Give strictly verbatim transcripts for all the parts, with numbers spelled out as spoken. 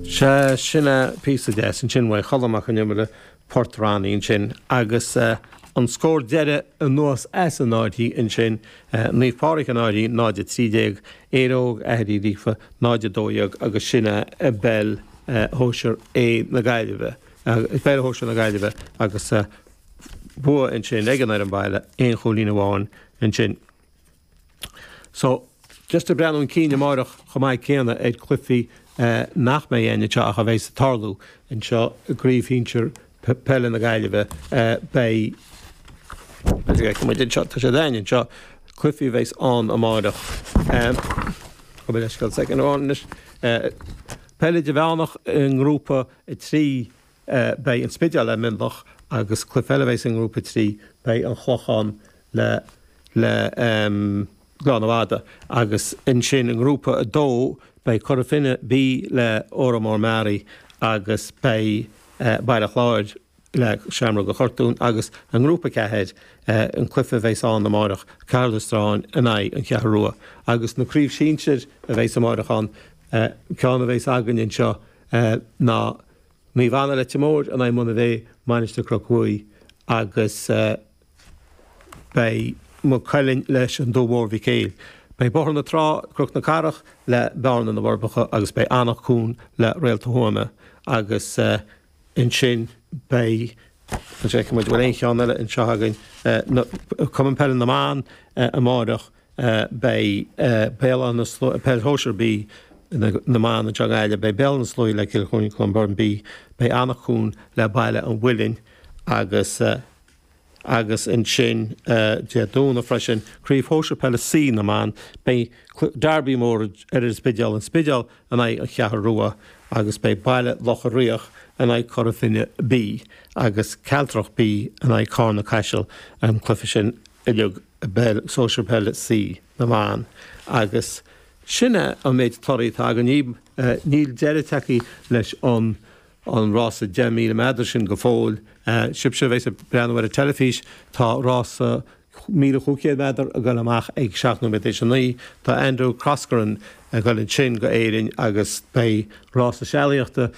Sea sin é píosa deas ansin uaidh Cholm Mac Con Iomaire Port Ronnie ansin agus uh, an scór deiridh anuas as an Fhairche ansin uh, Naomh Pádraig an Fhairche náid a trí déag Éire Óg Aithrí Líofa náid a dó dhéag agus sin é i bpeil uh, shóisir A na Gaillimhe. Uh, peil shóisir na Gaillimhe agus uh, bua ansin ag an ar an baile aon chúilín amháin ansin. So just ag breathnú chun cinn amárach chomh maith céanna ar chluichí uh, nach mbeidh againn anseo ach a bheidh ag tarlú anseo i gcraobh shinsir peile na Gaillimhe uh, beidh seo tá sé dain seo cluichí bheidh ann amárach. Uh, Peil idirmheánach i ngrúpa a trí uh, beidh an Spidéal le Mionlach agus cluiche eile bheidh i ngrúpa trí beidh an Clochán le le um, Gleann Fhada agus ansin i ngrúpa a dó beidh Cora Finne B le Órán Mór Meáraí agus beidh uh, Baile Chláir le Seamróga Chortún agus i ngrúpa ceathair uh, an cluiche bheidh ann amárach Caherlistrane in aghaidh an Cheathrú Rua agus na craobh shinsir a bheidh amárach ann uh, ceann a bheidh againn anseo uh, ná Naomh Anna Leitir Móir in aghaidh Monabhey Mainistir Chnoc Mhuaidh agus uh, beidh Maigh Cuilinn leis an Dumha Mór Mhic Éil. Beidh Bóthar na Trá Cnoc na Cathrach le Bearna na bhForbacha agus beidh Anach Cuain le Réalta Thuama agus uh, ansin beidh muid bhfuil aon cheann eile anseo againn Cumann Peile na mBan uh, amárach uh, beidh uh, Béal Peil Shóisir B na mban anseo i nGaillimh, beidh Béal na Sluaighe le Cill Chainnigh Clonberne B, beidh Anach Cuain le Baile an Mhuilinn agus uh, agus ansin uh, Dé Domhnaigh freisin Craobh Shóisir Peile C na mban beidh Derby mór ar an Spidéal an Spidéal in aghaidh an Cheathrú Rua agus beidh Baile Locha Riach in aghaidh Cora Finne B agus Cealtrach B in aghaidh Carna Caiseal an cluiche sin uilig peil sóisir peile C na mban agus sinne an méid torthaí atá againn níl deireadh tagtha leis an an rása deich míle méadar sin go fóill. Uh, Sibhse bheidh ag breathnú ar an teilifís tá rása míle cúig chéad méadar ag dul amach ag seacht nóiméad théis a naoi tá Andrew Coscoran ag dul ansin go Éirinn agus beidh rása sealaíochta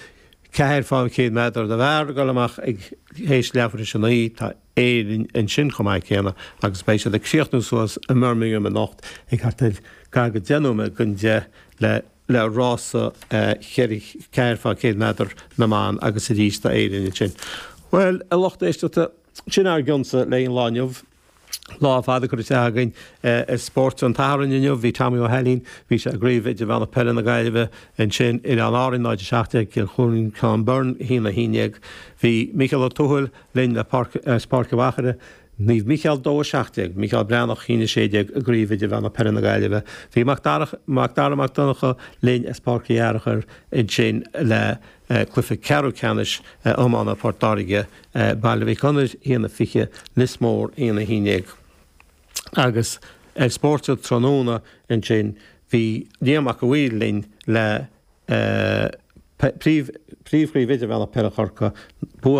ceathair fá chéad méadar do bhfear ag dul amach ag théis leathuair théis a naoi tá Éirinn ansin chomh maith céanna agus beidh siad ag críochnú suas i mBirmingham anocht ag thart ar gar go deich nóiméad don deich le le rása ceathair fá chéad méadar na mban agus arís tá Éirinn sin. Well a lucht éisteachta sin ár gcionsa le an lá inniu. Lá fada curtha againn ar spórt an tSathairn inniu, bhí Tommy Ó hAilín, bhí sé i gcraobh idirmheánach peile na Gaillimhe ansin Oileáin Árann náid seacht Cill Chluain Clonberne haon a haon déag. Bhí Michael Ó Tuathail linn le Páirc Mhachaire, Naomh Micheál dó a seacht déag, Micheál Breathnach haon a sé déag i gcraobh idirmheánach peile na Gaillimhe. Bhí Mac Dara Mac Donncha linn as Páirc Uí Fhearchair ansin le cluiche ceathrú ceannais iomána Port Láirge Baile Mhic Gonair haon a fiche Lios Mór haon a haon déag. Agus ar spórt tráthnóna ansin bhí Liam Mac Uill linn le príomhchraobh idirmheánach peile Chorcaí bua